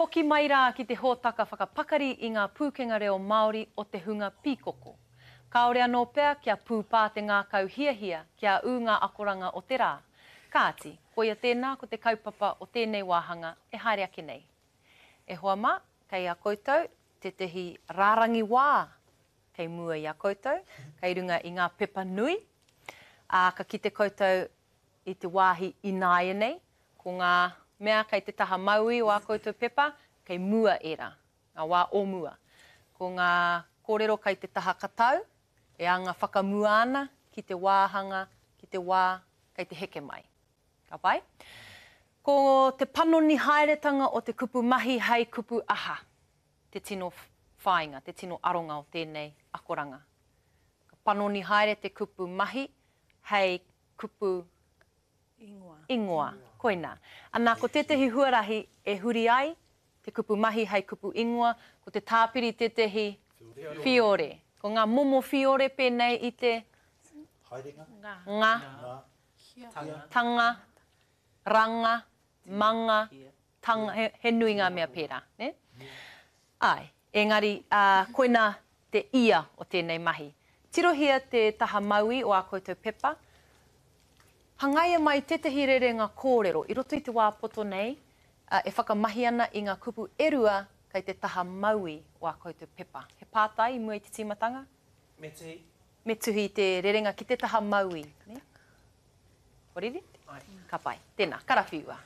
Hoki mai rā ki te hōtaka whakapakari i ngā pūkenga reo Māori o te hunga pīkoko. Kāore anō pea kia pūpā te ngākau hiahia kia ū ngā akoranga o te rā. Kāti, koia tēnā ko te kaupapa o tēnei wāhanga e haere ake nei. E hoa mā, kei a koutou tētehi rārangi wā kei mua i a koutou, kei runga i ngā pepa nui, ā, ka kite koutou i te wāhi ināianei, ko ngā mea kei te taha mauī o ā koutou pepa, kei mua ērā, ngā wā o mua. Ko ngā kōrero kei te taha katau, e anga whakamua ana ki te wāhanga, ki te wā kei te heke mai. Ka pai? Ko te panoni haeretanga o te kupu mahi hei kupu aha te tino whāinga, te tino aronga o tēnei akoranga. Ka panoni haere te kupu mahi hei kupu Ingoa. Ingoa. Koinā. Anā, ko tētehi huarahi e huri ai te kupu mahi hei kupu ingoa, ko te tāpiri tētehi whiore. Ko ngā momo whiore pēnei i te. Haerenga. Nga. Tanga. Tanga. Ranga. Manga. Tanga. He, he nui ngā mea pērā, nē? Āe, engari, ā, koinā te ia o tēnei mahi. Tirohia te taha mauī o ā koutou pepa. Hangaia mai tētehi rerenga kōrero i roto i te wā poto nei, ā, e whakamahi ana i ngā kupu e rua kei te taha mauī o ā koutou pepa. He pātai i mua i te tīmatanga? Me tuhi. Me tuhi i te rerenga ki te taha mauī, nē? Kua riri? Āe. Ka pai. Tēnā, karawhiua.